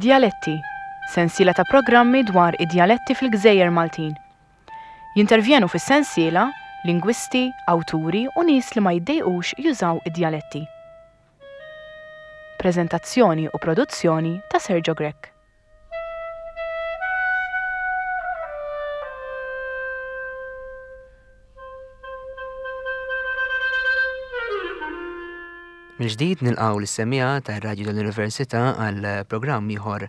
Djaletti, sensiela ta' programmi dwar id-djaletti fil-gżejjer Maltin. Jintervjenu fis-sensiela lingwisti, awturi u nies li ma jiddejqux jużaw id-djaletti. Preżentazzjoni u produzzjoni ta' Sergio Grech. Mill-ġdid nilqgħu lis-semmiegħa tar-Radju tal-Università għal programm ieħor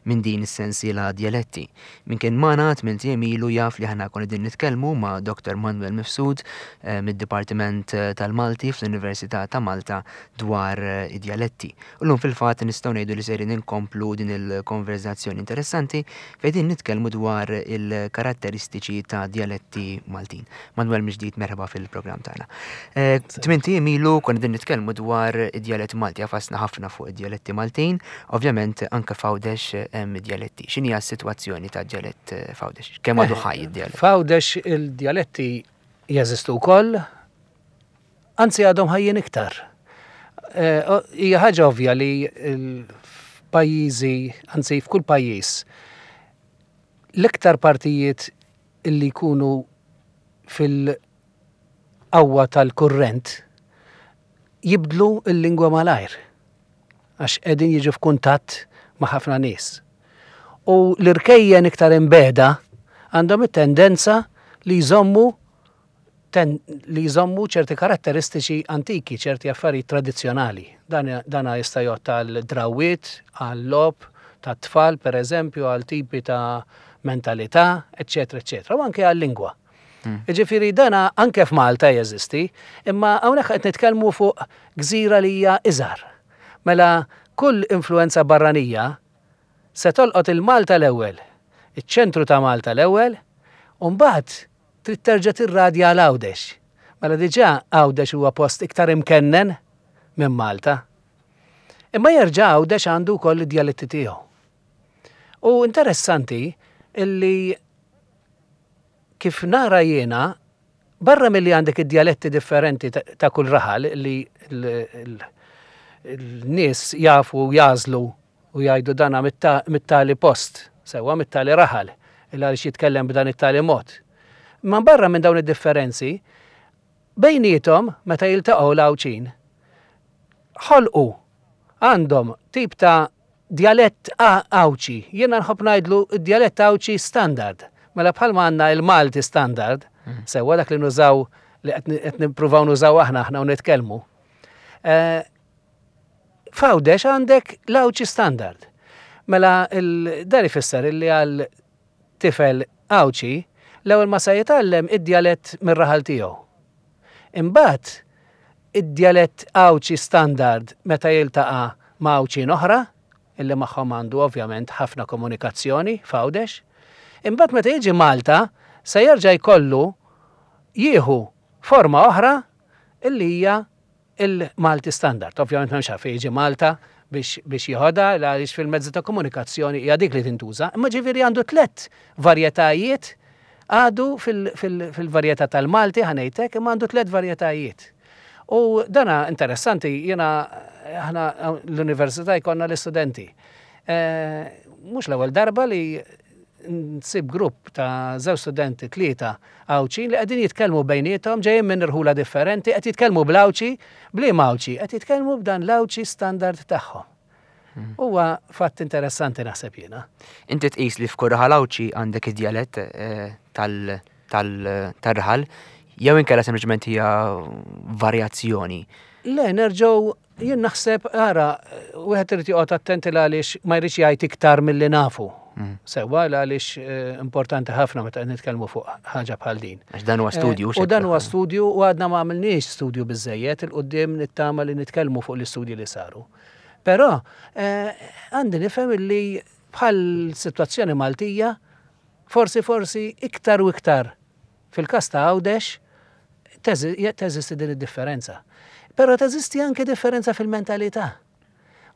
minn din is-sensiela Djaletti. Min kien magħna tmint ijiem ilu jaf li aħna konna qegħdin nitkellmu ma' Dr. Manuel Mifsud eh, mid-Dipartiment tal-Malti fl-Università ta' Malta dwar eh, id-djaletti. U llum fil-fatt nistgħu ngħidu li sejrin inkomplu din il-konverżazzjoni interessanti fejn din nitkellmu dwar il-karatteristiċi ta' djaletti Maltin. Manuel mill-ġdid merħba fil-programm tagħna. Eh, Tmint ijiem ilu konna din nitkellmu dwar id-djalett Malti, għafasna ħafna fuq id-djaletti Maltin, ovvjament anke f'Għawdex eh, hemm id-djaletti. X'inhi s-sitwazzjoni ta' djalett eh, f'Għawdex? Kemm għadu ħaj id-djalett? F'Għawdex il-djaletti jeżistu wkoll, anzi għadhom ħajjin iktar. Hija ħaġa ovvja li f'pajjiżi, anzi f'kull pajjiż, l-iktar partijiet illi jkunu fil-qawwa tal-kurrent jibdlu l-lingwa malajr għax qegħdin jiġu f'kuntatt ma' ħafna nies. U l-irkejjen iktar imbegħda għandhom it-tendenza li jżommu ten, li jżommu ċerti karatteristiċi antiki, ċerti affarijiet tradizzjonali. Dan, dana jista' jgħodd għal drawwiet, għal logħob tat-tfal, per eżempju, għal tipi ta' mentalità, eċċetera, eċċetera, u anke għal lingwa. Hmm. Ġifieri dana anke f'Malta jeżisti, imma hawnhekk qed nitkellmu fuq gżira li hija iżgħar. Mela kull influenza barranija se tolqot il-Malta l-ewwel, iċ-ċentru ta' Malta l-ewwel, u mbagħad trid terġa' tirradja għal Għawdex. Mela diġà Għawdex huwa post iktar imkennen minn Malta. Imma jerġa' Għawdex għandu wkoll id-djaletti tiegħu. U interessanti illi kif nara jiena, barra milli għandek id-djaletti differenti ta' kull raħal li l-nies jafu jagħżlu u jgħidu dana mit-tali post, sewwa mit-tali raħal, il għaliex jitkellem b'dan it-tali mod. Imma barra minn dawn id-differenzi, bejniethom meta jiltaqgħu l-Għawdxin, ħolqu għandhom tip ta' djalett Għawdxi. Jiena nħobb ngħidlu d-djalett Għawdxi standard. Mela bħalma għandna il-Malti standard, mm. sewwa dak li nużaw li qed nippruvaw nużaw aħna aħna u nitkellmu. Eh, F'Għawdex għandek l-Għawdxi standard. Mela dan ifisser illi għal tifel Għawdxi l-ewwel ma se jitgħallem id-djalett mir-raħal tiegħu. Imbagħad id-djalett Għawdxi standard meta jiltaqa' ma' Għawdxin oħra, illi magħhom għandu ovvjament ħafna komunikazzjoni f'Għawdex. Imbagħad meta jiġi Malta se jerġa' jkollu jieħu forma oħra illi hija il-Malti Standard. Ovvjament m'hemmx għalfejn jiġi Malta biex, biex jieħodha għaliex fil-mezzi ta' komunikazzjoni hija dik li tintuża. Imma ġifieri għandu tlett varjetajiet għadu fil-varjetà tal-Malti ħanejtek, imma għandu tlett varjetajiet. U dana interessanti, jiena aħna l-università jkollna l-istudenti. Eh, mhux l-ewwel darba li nsib grupp ta' żewġ studenti, tlieta Għawdxin li qegħdin jitkellmu bejniethom ġejjin minn irħula differenti, qed jitkellmu bl-Għawdxi, b'liema Għawdxi? Qed jitkellmu b'dan l-Għawdxi standard tagħhom. Hmm. Huwa fatt interessanti naħseb jiena. Inti tqis li f'kull raħal Għawdxi għandek id-djalett eh, tal-raħal jew inkella sempliċement hija varjazzjoni? Le, nerġgħu Jien naħseb, ara, wieħed irid joqgħod attenti għaliex ma jridx jgħid iktar milli nafu. Mm. Sewwa għaliex eh, importanti ħafna meta qed nitkellmu fuq ħaġa bħal din. Għax dan huwa eh, studju. U dan huwa studju u għadna ma għamilniex studju biżejjed il-qudiem nittama li nitkellmu fuq l-istudji li saru. Però eh, għandi nifhem li bħal sitwazzjoni Maltija forsi forsi iktar u iktar Fil-każ ta' Għawdex teżisti din id-differenza. Però teżisti anke differenza fil-mentalità.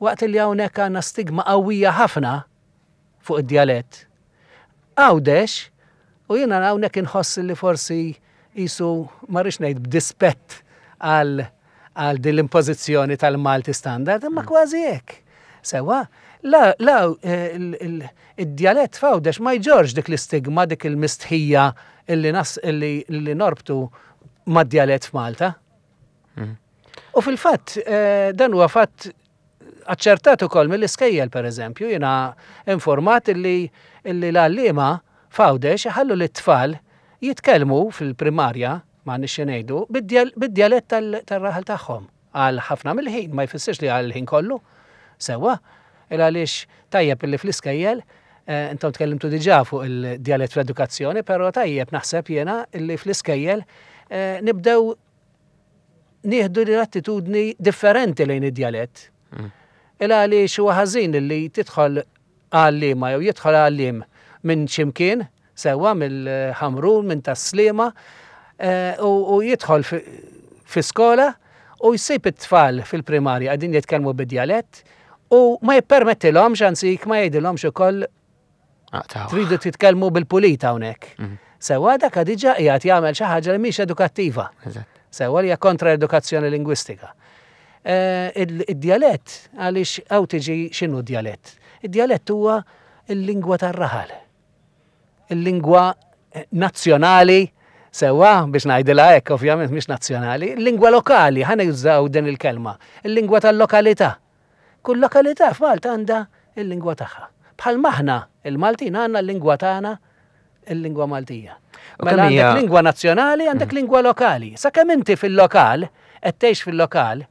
Waqt li hawnhekk għandna stigma qawwija ħafna fuq id-djalett, Għawdex, u jiena hawnhekk inħoss li forsi qisu ma rridx ngħid b'dispett għal għal din l-impożizzjoni tal-Malti standard, imma mm. kważi hekk. Sewa, La, la, id-djalett f'Għawdex ma jġorrx dik l-istigma, dik il-mistħija illi nas illi norbtu mad-djalett f'Malta. U fil-fatt, dan huwa fatt aċċertat ukoll mill-iskejjel pereżempju, jiena informat illi illi l-għalliema f'Għawdex iħallu lit-tfal jitkellmu fil-primarja, m'għandniex xi ngħidu, bid-djalett tar-raħal tagħhom. Għal ħafna mill-ħin, ma jfissirx li għal ħin kollu. Sewwa, il għaliex tajjeb illi fl-iskejjel, intom tkellimtu diġà fuq il-djalett fl-edukazzjoni, però tajjeb naħseb jiena illi fl-iskejjel nibdew nieħdu l-attitudni differenti lejn id-djalett. Il għaliex huwa ħażin li tidħol għalliema jew jidħol għalliem minn ximkien, sewwa mill-Ħamrun, minn Tas-Sliema, u jidħol fi skola u jsib it-tfal fil-primarja qegħdin jitkellmu bid-djalett u ma jippermettilhomx, anzi ma jgħidilhomx ukoll tridu titkellmu bil-pulit hawnhekk. Sewwa dak diġà qiegħed jagħmel xi ħaġa li mhix edukattiva. Sewwa li hija kontra l-edukazzjoni lingwistika. Id-djalett, għaliex hawn tiġi x'inhu d-djalett? Id-djalett huwa l-lingwa tar-raħal. Il-lingwa nazzjonali, sewwa biex ngħidilha hekk, ovvjament mhix nazzjonali, il-lingwa lokali, ħa nużaw din il-kelma, il-lingwa tal-lokalità. Kull lokalità f'Malta għandha l-lingwa tagħha. Bħalma aħna il-Maltin għandna l-lingwa tagħna il-lingwa Maltija. Mela għandek lingwa nazzjonali, għandek mm. lingwa lokali. Sakemm inti fil-lokal, qed tgħix fil-lokal,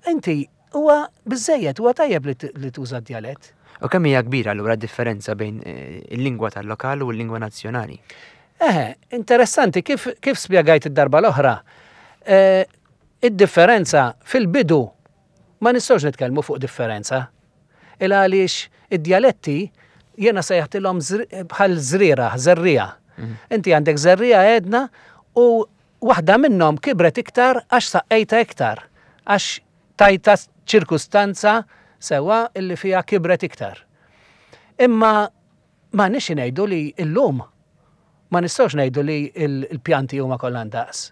inti huwa biżejjed, huwa tajjeb li tuża d-djalett. U kemm hija kbira allura differenza bejn eh, il-lingwa tal-lokal u l-lingwa nazzjonali? Eh, interessanti kif, kif spjegajt id-darba l-oħra. Eh, id-differenza fil-bidu Ma nistgħux nitkellmu fuq differenza. Il għaliex id-djaletti jiena sejħtilhom bħal żrieragħ, żerriegħa. Mhm. Inti għandek żerriegħa għedna u waħda minnhom kibret iktar għax saqqejta iktar, għax tajta ċirkustanza sewwa illi fiha kibret iktar. Imma ma nix ngħidu li llum ma nistgħux ngħidu li l-pjanti huma kollha ndaqs.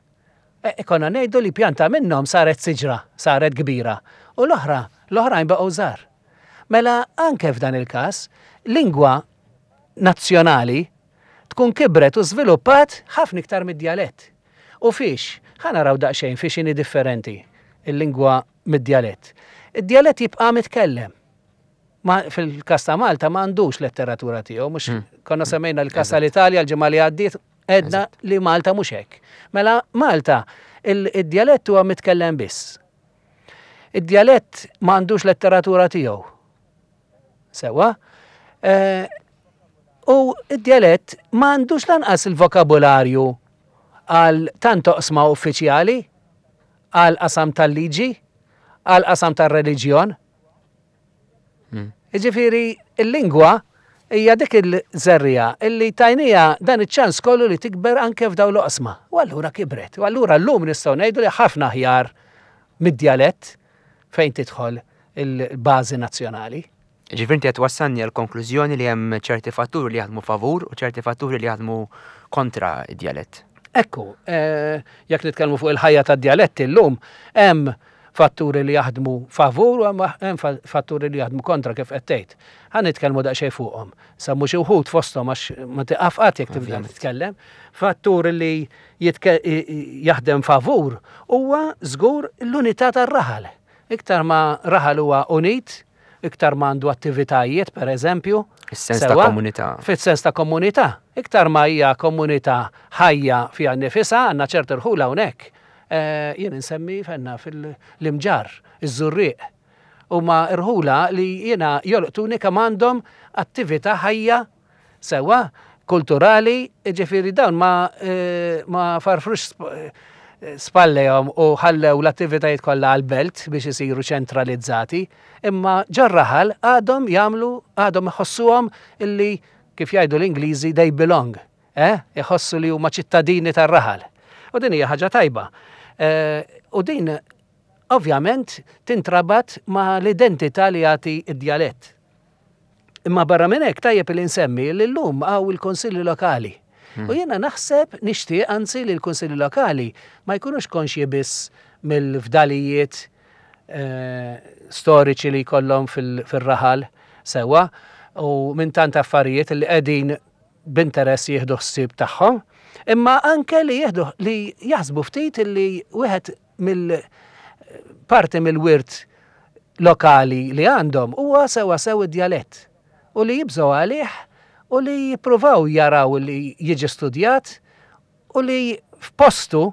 E, konna ngħidu li pjanta minnhom saret siġra, saret kbira, u l-oħra, l-oħrajn baqgħu żgħar. Mela anke f'dan il-każ, lingwa nazzjonali tkun kibret u żviluppat ħafna iktar mid-djalett. U fiex? Ħa naraw daqsxejn fiex inhi differenti il-lingwa mid-djalett. Id-djalett jibqa' mitkellem. Ma, fil-każ ta' Malta ma għandux letteratura tiegħu, mhux hmm. konna semmejna l-każ tal-Italja l-ġimgħa li għaddiet, Għedna li Malta mhux hekk. Mela Malta id-djalett huwa mitkellem biss. Id-djalett ma għandux letteratura tiegħu. Sewwa? Eh, u id-djalett ma għandux lanqas il-vokabularju għal tant oqsma uffiċjali, għal qasam tal-liġi, għal qasam tal-reliġjon. Hmm. Jiġifieri il-lingwa hija dik il-żerriegħa illi tajnija dan iċ-ċans kollu li tikber anke f'dawn l-oqsma. U allura kibret. U allura llum nistgħu ngħidu li ħafna aħjar mid-djalett fejn tidħol il-bażi nazzjonali. Ġifieri inti qed twassalni għal konklużjoni li hemm ċerti fatturi li jaħdmu favur u ċerti fatturi li jaħdmu kontra id-djalett. Ekku, eh, jekk nitkellmu fuq il-ħajja tad-djaletti llum, hemm fatturi li jaħdmu favur u hemm fatturi li jaħdmu kontra kif qed tgħid. Ħa nitkellmu daqsxejn fuqhom. Semmu xi wħud fosthom għax ma tiqaf qatt jekk tibda titkellem. Fattur li jaħdem favur huwa żgur l-unità tar-raħal. Iktar ma raħal huwa unit, iktar ma għandu attivitajiet, per eżempju. Is-sens ta' komunità. Fis-sens ta' komunità. Iktar ma hija komunità ħajja fiha nnifisha, għandna ċerti rħula hawnhekk. Eh, jien insemmi fenna fil-Imġarr, iż-Żurrieq. Huma rħula li jiena jolqtuni kemm għandhom attività ħajja Sewwa, kulturali, jiġifieri dawn ma ma farfrux spallejhom u ħallew l-attivitajiet kollha għall-belt biex isiru ċentralizzati, imma ġor-raħal għadhom jagħmlu, għadhom iħossuhom illi kif jgħidu l-Ingliżi they belong, eh, iħossu li huma ċittadini tar-raħal. U din hija ħaġa tajba. U din ovvjament tintrabat ma' l-identità li jagħti d-djalett. Imma barra minn hekk tajjeb li nsemmi li llum hawn il-Kunsilli Lokali. Hmm. U jiena naħseb nixtieq anzi li l-Kunsilli Lokali ma jkunux konxji biss mill-fdalijiet eh, storiċi li jkollhom fil-raħal. sewwa u minn tant affarijiet li qegħdin b'interess jieħdu ħsieb tagħhom, imma anke li jieħdu li jaħsbu ftit li wieħed mill parti mill-wirt lokali li għandhom huwa sewwa sew id-djalett u li jibżgħu għalih u li jippruvaw jaraw li jiġi studjat u li f'postu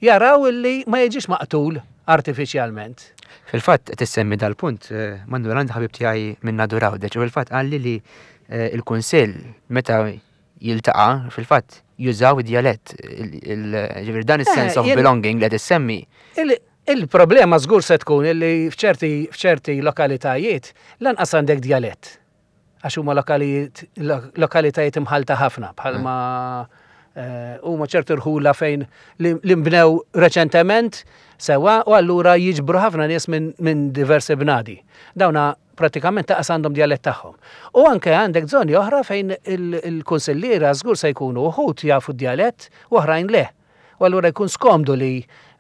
jaraw li ma jiġix maqtul artifiċjalment. Fil-fatt qed issemmi dal-punt, eh, Manuel għandi ħabib tiegħi minn Nadur Għawdex u fil-fatt qalli li eh, il-Kunsill meta jiltaqa' fil-fatt jużaw id-djalett, ġifieri dan is-sense eh, of belonging li qed issemmi. Il-problema żgur se tkun li f'ċerti lokalitajiet lanqas għandek djalett. Għax huma lokalitajiet imħalta ħafna bħalma eh, huma ċerti rħula fejn li nbnew reċentement sewa u allura jiġbru ħafna nies minn diversi bnadi. Dawna pratikament taqas għandhom djalett tagħhom. U anke għandek żoni oħra fejn il-kunsilliera żgur se jkunu uħud jafu d-djalett u oħrajn le. U allura jkun skomdu li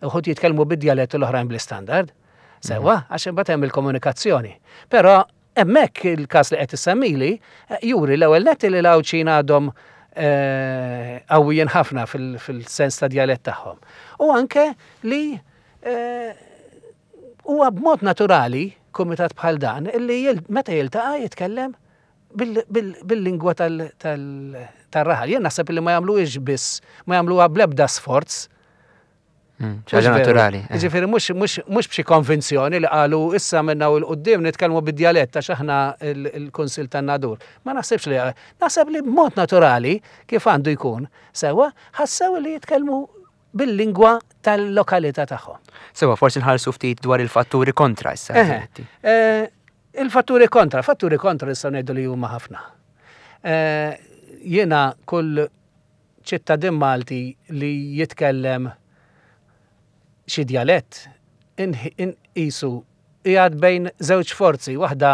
uħud jitkellmu bid-djalett u l-oħrajn bl-istandard. Sewa, għax imbagħad hemm il-komunikazzjoni. Però Hemmhekk il-każ li qed issemmili juri l-ewwel nett li l-Għawdxin għadhom qawwijin ħafna fil-sens ta' djalett tagħhom. U anke li huwa b'mod naturali kumitat bħal dan li meta jiltaqa' jitkellem bil-lingwa tal-raħal. Jien naħseb li ma jagħmluhiex biss, ma jagħmluha bl-ebda sforz. Ħaġa naturali. Eh. Ġifieri mhux b'xi konvinzjoni li qalu issa minna u l-qudiem nitkellmu bid-djalett għax aħna il-Kunsill tan-Nadur. Ma naħsibx li naħseb li b'mod naturali kif għandu jkun sewwa ħassew li jitkellmu bil-lingwa tal-lokalità tagħhom. Sewa, forsi nħarsu ftit dwar il-fatturi kontra issa. Eh, il-fatturi kontra, fatturi kontra nistgħu ngħidu li huma ħafna. Eh, jiena kull ċittadin Malti li jitkellem xi djalett inqisu qiegħed bejn żewġ forzi, waħda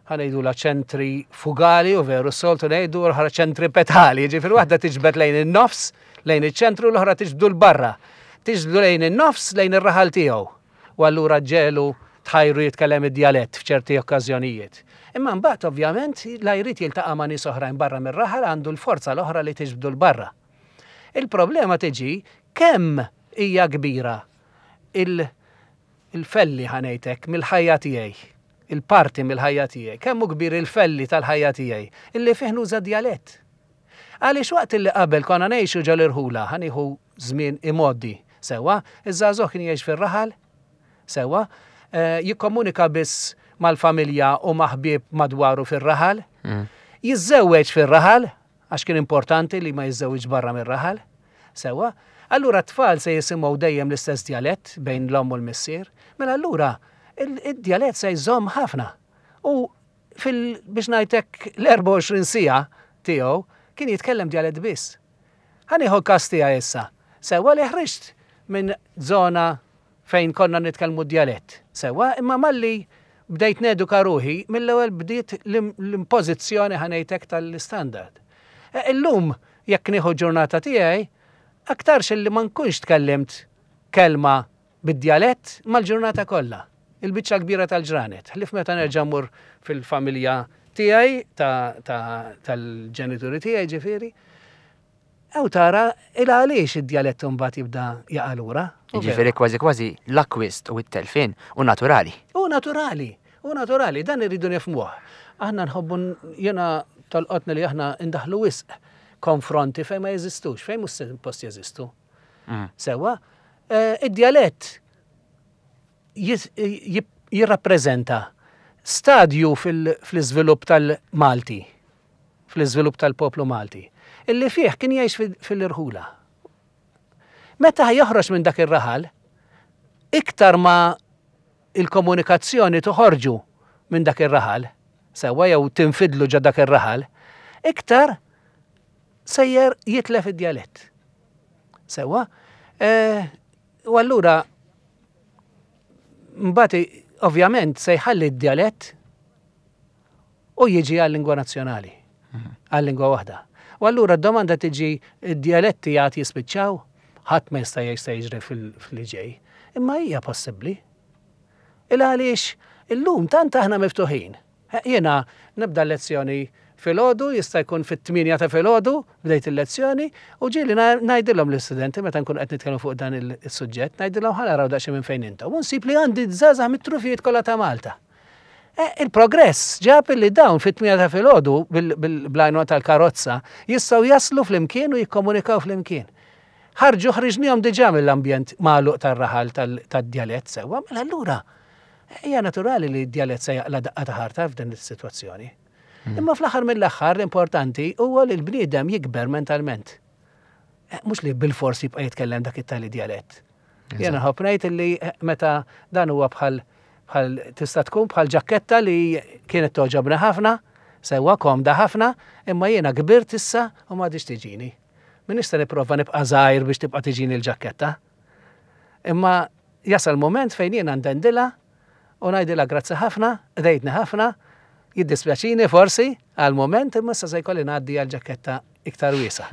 ħa ngħidulha ċentrifugali u veru s-soltu ngħidu l-oħra ċentripetali, jiġifieri waħda tiġbed lejn in-nofs, lejn iċ-ċentru, l-oħra tiġbdu 'l barra. Tiġbdu lejn in-nofs lejn ir-raħal tiegħu. U allura ġġegħlu tħajru jitkellem id-djalett f'ċerti okkażjonijiet. Imma mbagħad ovvjament la jrid jiltaqa' ma' nies oħrajn barra mir-raħal għandu l-forza l-oħra li tiġbdu 'l barra. Il-problema tiġi kemm hija kbira il-felli ħa ngħid hekk mill-ħajja tiegħi, il-parti mill-ħajja tiegħi, kemm hu kbir il-felli tal-ħajja tiegħi illi fih nuża d-djalett. Għaliex waqt illi qabel konna ngħixu ġol-irħula, ħa nieħu żmien imgħoddi, sewwa, iż-żagħżugħ kien jgħix fir-raħal, sewwa, jikkomunika biss mal-familja u ma' ħbieb madwaru fir-raħal, jiżżewweġ fir-raħal, għax kien importanti li ma jiżżewwiġx barra mir-raħal, sewwa, allura t-tfal se jisimgħu dejjem l-istess djalett bejn l-omm u l-missier, mela allura id-djalett se jżomm ħafna. U fil biex ngħid hekk l-24 siegħa tiegħu kien jitkellem djalett biss. Ħa nieħu l-każ tiegħi issa. Sewwa li ħriġt minn żona fejn konna nitkellmu d-djalett. Sewwa, imma malli bdejt neduka ruħi, mill-ewwel bdiet l-impożizzjoni ħa ngħid hekk tal-istandard. E, illum jekk nieħu ġurnata tiegħi, aktarx illi ma nkunx tkellimt kelma bid-djalett mal-ġurnata kollha, il-biċċa l-kbira tal-ġranet, ħlief meta nerġa' mmur fil-familja tiegħi, tal-ġenituri tiegħi ġifieri. Ew tara il għaliex id-djalett imbagħad jibda jaqa' lura. Ġifieri kważi kważi l-akkwist u t-telfien hu naturali. Hu naturali, hu naturali, dan irridu nifhmuh. Aħna nħobbu jiena tolqotni li aħna ndaħħlu wisq konfronti fejn ma jeżistux, fejn mhux suppost jeżistu. Mm. Sewa, eh, id-djalett jirrappreżenta stadju fl-iżvilupp tal-Malti, fl-iżvilupp tal-poplu Malti, illi fih kien jgħix fil-irħula. Meta joħroġ minn dak ir-raħal, iktar ma il-komunikazzjoni toħorġu minn dak ir-raħal, sewwa jew tinfidlu ġo dak ir-raħal, iktar sejjer jitlef id-djalett. Sewwa? Eh, u allura mbagħad ovvjament se jħalli d-djalett u jiġi għal-lingwa nazzjonali, mhm. għal-lingwa waħda. U allura d-domanda tiġi d-djaletti għad jispiċċaw, ħadd ma jista' jgħid se jiġri fil-ġej. Imma hija possibbli. Il għaliex illum tant aħna miftuħin. Jiena nibda l-lezzjoni filgħodu, jista' jkun fit-8 ta' filgħodu bdejt il-lezzjoni, u ġieli ngħidilhom l-istudenti meta nkunu qed nitkellmu fuq dan is-suġġett, ngħidilhom ħa naraw daqsxejn minn fejn intom. U nsib li għandi żgħażagħ mit-trufijiet kollha ta' Malta. E, il-progress ġab li dawn fit-8 ta' filgħodu bil-għajnuna tal-karozza jistgħu jaslu flimkien u jikkomunikaw flimkien. Ħarġu ħriġnihom diġà mill-ambjent magħluq tar-raħal tad-djalett sewwa, mela allura hija naturali li d-djalett se jaqla' daqqa ta' ħarta f'din is-sitwazzjoni. Imma fl-aħħar mill-aħħar l-importanti huwa li l-bniedem jikber mentalment. Eh, mhux li bil-fors jibqa' jitkellem dak it-tali djalett. Jiena nħobb ngħid li eh, meta dan huwa bħal bħal tista' tkun bħal ġakketta li kienet toġobni ħafna, sewwa komda ħafna, imma jiena kbirt issa u m'għadix tiġini. Minix se nipprova nibqa' żgħir biex tibqa' tiġini l-ġakketta. Imma jasal moment fejn jiena ndendilha u ngħidilha grazzi ħafna, qdejtni ħafna, jiddispjaċini forsi għal moment imma issa se jkolli ngħaddi għal ġakketta iktar wiesa.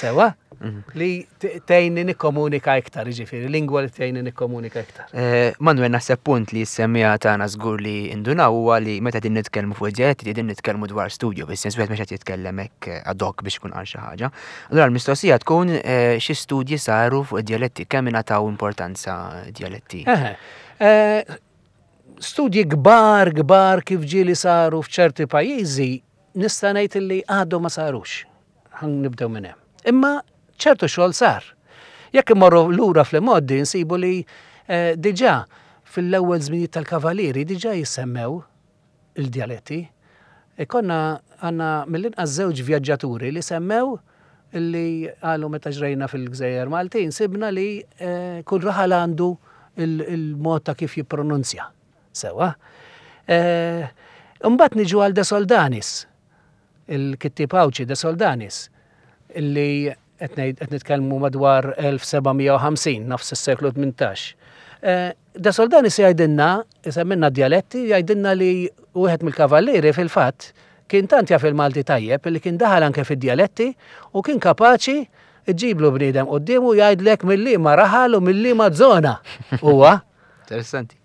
Sewa? Mhm. Li tgħinni nikkomunika iktar, jiġifieri, lingwa li tgħinni nikkomunika iktar. Eh, Manuel, naħseb punt li s-semmija tagħna żgur li indunaw huwa li meta din nitkellmu fuq id-djaletti din nitkellmu dwar studju, fis-sens wieħed mhux qed jitkellem hekk eh, ad hoc biex ikun qal xi ħaġa. Allura l-mistoqsija tkun eh, xi studji saru fuq id-djaletti, kemm ingħataw importanza djaletti? Studji kbar kbar kif ġieli saru f'ċerti pajjiżi nista' ngħid li għadhom ma sarux. Ħan nibdew minn hemm. Imma ċertu xogħol sar. Jekk immorru lura fl-imgħoddi nsibu li eh, diġà fil-ewwel żminijiet tal-Kavalieri diġà jissemmew il-djaletti. Ikonna għandna mill-inqas żewġ vjaġġaturi li semmew li qalu meta ġrejna fil-Gżejjer Maltin sibna li eh, kull raħal għandu il-mod ta' kif jippronunzja. Sewa. Eh, imbagħad niġu għal De Soldanis, il-kittieb Għawdxi De Soldanis, illi qed nitkellmu madwar 1750, nofs is-seklu 18. Eh, De Soldanis jgħidilna, isemmilna djaletti, jgħidilna li wieħed mill-kavallieri fil-fatt kien tant jaf il-Malti tajjeb li kien daħal anke fid-djaletti u kien kapaċi ġiblu bniedem quddiemu jgħidlek mill-liema raħal u mill-liema żona huwa. Interessanti.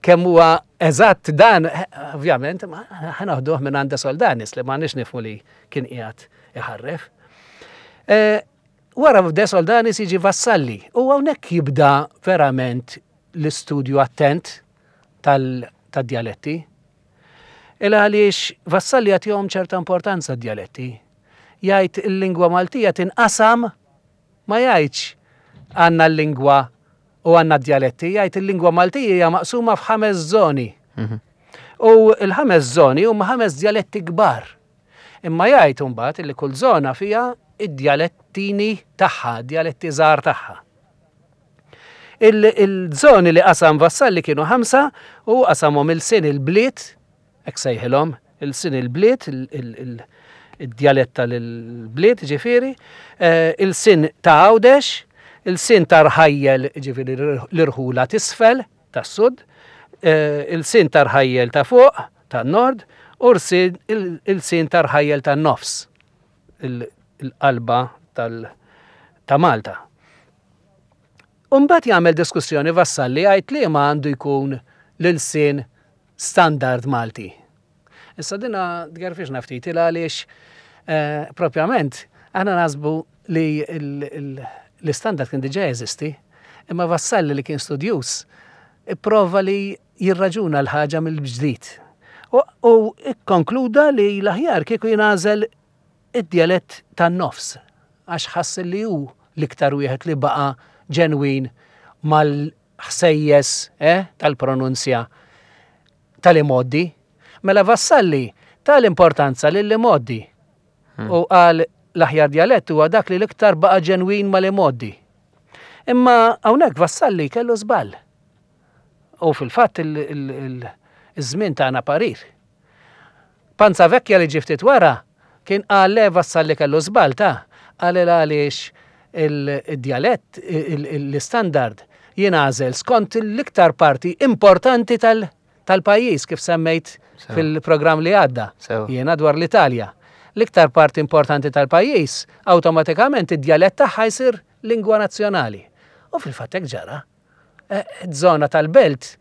Kemm huwa eżatt dan, ovvjament, ħa naħduh minn għand Soldanis li ma nix nifhmu li kien qiegħed iħarref. E, wara De Soldanis jiġi Vassalli u hawnhekk jibda verament l-istudju attent tal-djaletti. Il għaliex Vassalli jagħtihom ċerta importanza d-djaletti. Jgħid il-lingwa Maltija tinqasam ma jgħidx għandna l-lingwa u għandna d-djaletti, jgħid il-lingwa Maltija hija maqsuma f'ħames żoni. Mhm. U l-ħames żoni huma ħames djaletti kbar. Imma jgħid imbagħad li kull żona fiha id-djalettini tagħha, djaletti żgħar tagħha. Il-żoni li qasam Vassalli kienu ħamsa u qasamhom il-sin il-bliet, hekk sejħilhom, il-sin il-bliet, id-djalett tal-bliet ġifieri, eh, il-sin ta' Għawdex, il-sin ta' Rħajjel ġifieri l-irħula t'isfel tas-sud, eh, il-sin ta' Rħajjel ta' fuq tan-nord u il-sin ta' Rħajjel tan-nofs, il-qalba ta' Malta. Umbagħad jagħmel diskussjoni Vassalli jgħid li ma għandu jkun l-ilsien standard Malti. Issa dina tgerfixna ftit il għaliex eh, propjament aħna nasbu li l-istandard kien diġà jeżisti, imma Vassalli li kien studjuż ipprova li jirraġuna l-ħaġa mill-ġdid. U ikkonkluda li l-aħjar kieku jingħażel id-djalett tan-nofs għax ħass li hu l-iktar wieħed li baqa' ġenwin mal-ħsejjes eh, tal-pronunzja tal-imgħoddi. Mela Vassalli ta l-importanza lill-imgħoddi hmm. u qal l-aħjar djalett huwa dak li l-iktar baqa' ġenwin mal-imgħoddi. Imma hawnhekk Vassalli kellu żball. U fil-fatt il-żmien tagħna parir. Panzavecchia li ġie ftit wara kien qal le Vassalli kellu żball ta', qal il għaliex il-djalett, l-istandard jingħażel skont l-iktar parti importanti tal-pajjiż kif semmejt fil-programm li għadda. Jiena dwar l-Italja. L-iktar parti importanti tal-pajjiż, awtomatikament id-djalett tagħha jsir lingwa nazzjonali. U fil-fatt hekk ġara. Żona tal-belt,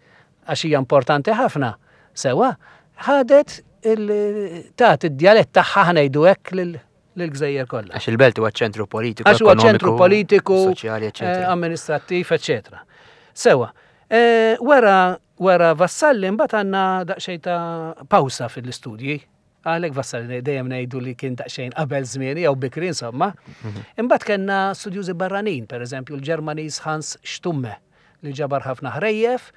għax hija importanti ħafna, sewwa, ħadet tat id-djalett tagħha ħnejdu hekk lill-gżejjer kollha. Għax il-belt huwa ċentru politiku, Għax huwa ċentru politiku, soċjali, eċetera. Eh, amministrattiv, eċetera. Sewa, eh, wara wara Vassalli mbagħad għandna daqsxejn ta' pawsa fil-istudji. Għalhekk Vassalli dejjem ngħidu li kien daqsxejn qabel żmien jew bikri insomma. Mhm. Imbagħad kellna studjużi barranin, pereżempju l-Ġermaniż Hans Stumme li ġabar ħafna ħrejjef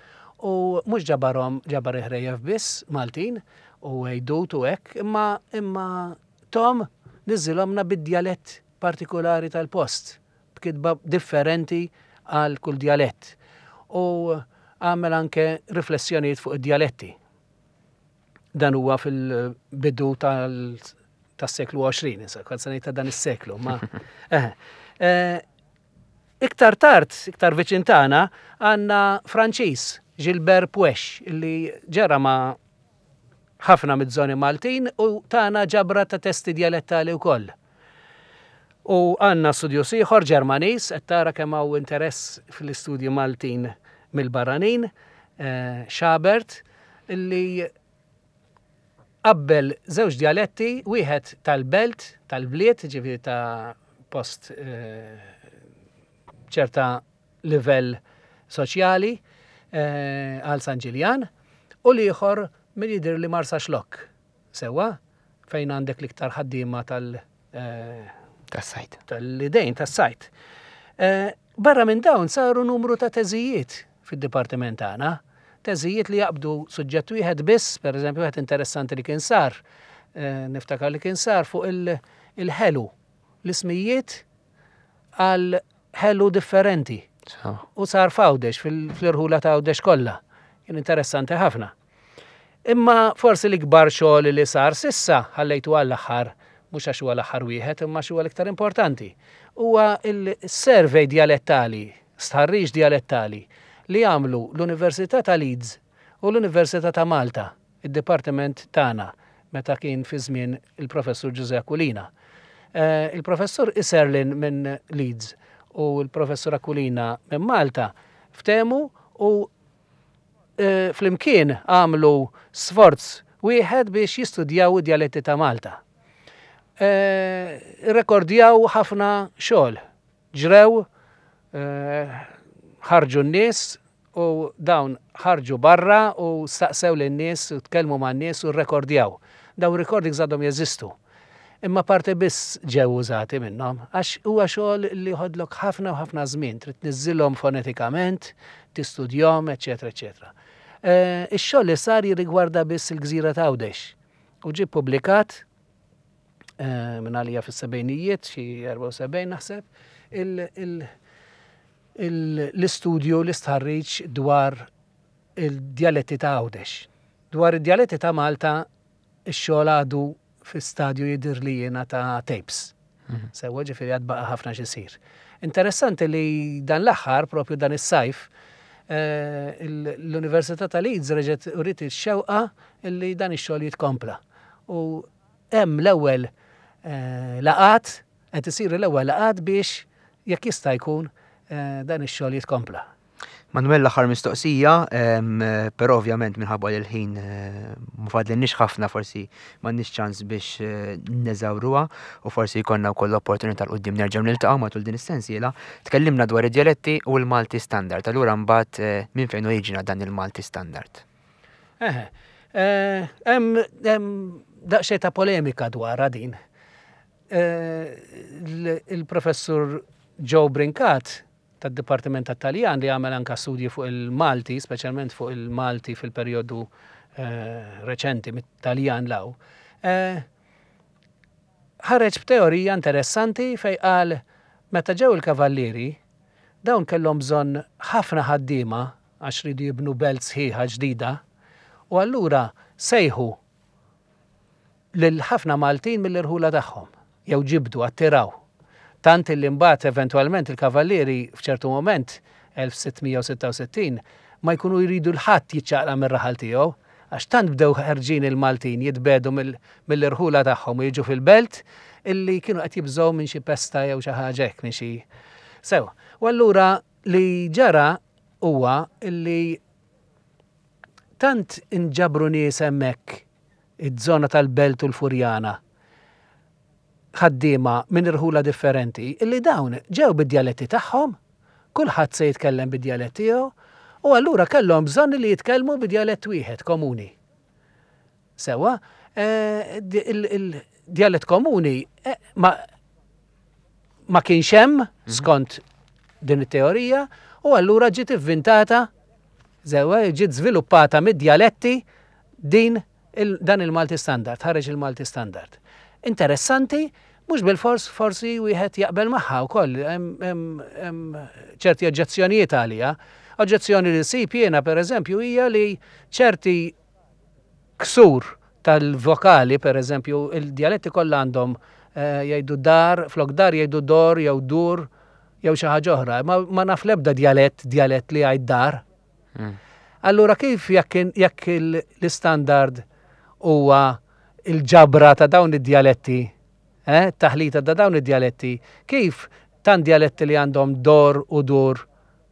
u mhux ġabarhom ġabar ħrejjef biss Maltin u għejdut u hekk, imma imma Tom niżżilhomlna bid-djalett partikulari tal-post, b'kitba differenti għal kull djalett. U għamel anke riflessjonijiet fuq id-djaletti. Dan huwa fil-bidu tas-seklu 20, insa, kont se ngħid ta' dan is-seklu, ma. Eh, eh, iktar tard, iktar viċin tagħna, għandna Franċiż, Gilbert Puech, li ġara ma' ħafna miż-żoni Maltin u tana ġabra ta' testi djalettali wkoll. U għandna studjuż ieħor Ġermaniż, qed tara kemm hawn interess fl-istudji Maltin mill-barranin, eh, Schabert, li qabbel żewġ djaletti, wieħed tal-belt, tal-bliet, ġifieri ta' post eh, ċerta livell soċjali eh, għal San Ġiljan u l-ieħor min jidhir li Marsaxlokk sewwa fejn għandek l-iktar ħaddiema tal- eh, tas-sajt. Tal-idejn tas-sajt. Eh, barra minn dawn saru numru ta' teżijiet fid-dipartiment tagħna. Teżijiet li jaqbdu suġġett wieħed biss, per eżempju, wieħed interessanti li kien sar, niftakar li kien sar fuq il-ħelu, l-ismijiet għal ħelu differenti. U sar f'Għawdex, fl-irħula ta' Għawdex kollha. Kien interessanti ħafna. Imma forsi l-ikbar xogħol li sar sissa ħallejtu għall-aħħar, mhux għax huwa l-aħħar wieħed, imma għax huwa l-iktar importanti. Huwa il-survey dialettali, stħarriġ dialettali li għamlu l-Università ta' Leeds u l-Università ta' Malta. id-dipartiment tagħna meta kien fi żmien il-Professur Ġużè Aquilina. Eh, il-Professur Iserlin minn Leeds u l-Professur Aquilina minn Malta ftehmu u eh, flimkien għamlu sforz wieħed biex jistudjaw id-djaletti ta' Malta. Eh, irrekordjaw ħafna xogħol, ġrew, ħarġu n-nies U dawn ħarġu barra u staqsew lin-nies u tkellmu man-nies u rrekordjaw. Dawn recordings għadhom jeżistu. Imma parti biss ġew użati minnhom għax huwa xogħol li joħodlok ħafna u ħafna żmien, trid tniżżilhom fonetikament, tistudjhom, eċċetera eċċetera. Eh, ix-xogħol li sar jirrigwarda biss il-gżira ta' Għawdex u ġie ppubblikat eh, minn għalija fis-sebgħinijiet, xi 74 naħseb, l-istudju l-istħarriġ dwar il-djaletti ta' Għawdex. Dwar id-djaletti ta' Malta ix-xogħol għadu fi stadju jidhirli jiena ta' tapes. Mhm. Sewwa ġifieri għad baqa' ħafna x'isir. Interessanti li dan l-aħħar, propju dan is-sajf, eh, l-Università ta' Leeds reġgħet uriet ix-xewqa li dan ix-xogħol jitkompla. U hemm l-ewwel eh, laqat, qed isiru l-ewwel laqat biex jekk jista' jkun eh, dan ix-xogħol jitkompla. Manuel l-aħħar mistoqsija, però ovvjament minħabba li l-ħin eh, ma fadlinniex ħafna forsi m'għandniex ċans biex eh, neżawruha u forsi jkollna wkoll l-opportunità l qudiem nerġgħu niltaqgħu matul din is-sensiela. Tkellimna dwar id-djaletti u l-Malti standard. Allura mbagħad eh, minn fejn oriġina dan il-Malti standard? Eħe, hemm daqsxejn ta' polemika dwarha din. Il-professur Joe Brincat tad-Dipartiment tat-Taljan li għamel anka studji fuq il-Malti, speċjalment fuq il-Malti fil-perjodu eh, reċenti mit-Taljan law, eh, ħareġ b'teorija interessanti fej qal meta ġew il-kavallieri dawn kellhom bżonn ħafna ħaddiema għax ridu jibnu belt sħiħa ġdida u allura sejħu lil ħafna Maltin mill-irħula tagħhom, jew ġibdu, attiraw. Tant illi mbagħad eventwalment il-Kavallieri f'ċertu mument, 1666, ma jkunu jridu 'l ħadd jiċċaqlaq mir-raħal tiegħu, għax tant bdew ħerġin il-Maltin jitbiegħdu mill-irħula tagħhom u jiġu fil-belt illi kienu qed jibżgħu minn xi pesta jew xi ħaġa hekk, minn xi. Sew. U allura li ġara huwa illi tant inġabru nies hemmhekk. iż-żona tal-Belt u l-Furjana, ħaddiema minn irħula differenti, illi dawn ġew bid-djaletti tagħhom, kulħadd se jitkellem bid-djalett tiegħu, u allura kellhom bżonn li jitkellmu bi djalett wieħed komuni. Sewwa, il-djalett komuni ma ma kienx hemm skont din it-teorija u allura ġiet ivvintata sewwa ġiet żviluppata mid-djaletti din dan il-Malti Standard, ħareġ il-Malti Standard. Interessanti, mhux bilfors forsi wieħed jaqbel magħha wkoll, hemm ċerti oġġezzjonijiet għaliha. Oġġezzjoni li nsib jiena pereżempju hija li ċerti ksur tal-vokali, pereżempju, il-djaletti kollha għandhom eh, jgħidu dar, flok dar jgħidu dor jew dur jew xi ħaġa oħra. Ma, ma naf l-ebda djalett, djalett li jgħid dar. Hmm. Allura kif jekk jekk l-istandard huwa il-ġabra ta' dawn id-djaletti, eh, taħlita ta' dawn id-djaletti, kif tant djaletti li għandhom dor u dur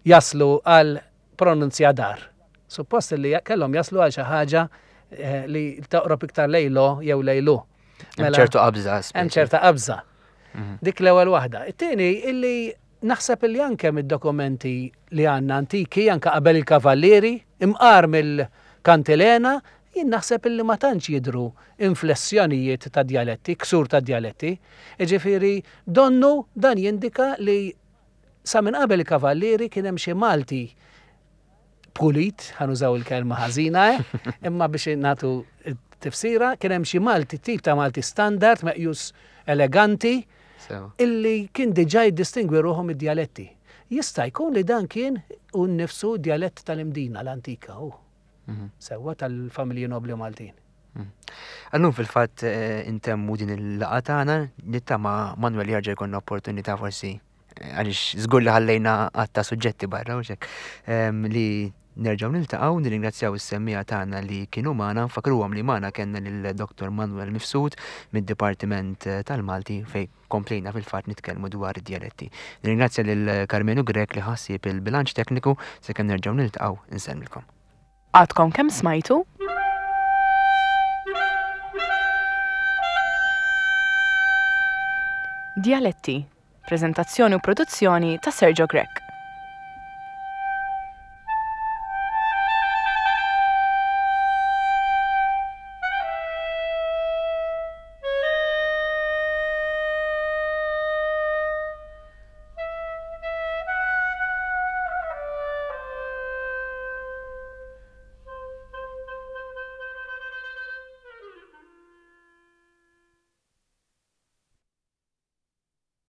jaslu għal pronunzja dar. Suppost li kellhom jaslu għal xi ħaġa eh, li toqrob iktar lejlo jew lejlu. Hemm mela, ċertu qabża. Hemm ċerta qabża. Mhm. Dik l-ewwel waħda. It-tieni illi naħseb illi anke mid-dokumenti li għandna antiki, anke qabel il-kavallieri, imqar mill-kantilena, jien naħseb illi ma tantx jidhru inflessjonijiet ta' djaletti, ksur ta' djaletti. Jiġifieri donnu dan jindika li Sa minn qabel il-Kavallieri kien hemm xi Malti pulit, ħa nużaw il-kelma ħażina, eh? imma biex nagħtu tifsira, kien hemm xi Malti tip ta' Malti standard meqjus eleganti illi kien diġà jiddistingwi ruħu mid-djaletti. Jista' jkun li dan kien u nnifsu djalett tal-Imdina l-antika u mhm. sewwa tal-familji nobli Maltin. Mhm. Għallum fil-fatt eh, intemmu din il-laqa tagħna nittama Manuel jarġa' jkollna opportunità forsi eh, għaliex żgur li ħallejna għatta suġġetti barra u xek ehm, li nerġgħu niltaqgħu nirringrazzjaw is-semmija tagħna li kienu magħna, nfakruhom li magħna kellna lil Dr. Manuel Mifsud mid-Dipartiment eh, tal-Malti fej komplejna fil-fatt nitkellmu dwar id-djaletti. Nirringrazzja lil Karmenu Grech li ħassieb il-bilanċ tekniku sakemm nerġgħu niltaqgħu insellmilkom. Għadkom kemm smajtu? Djaletti, preżentazzjoni u produzzjoni ta' Sergio Grech.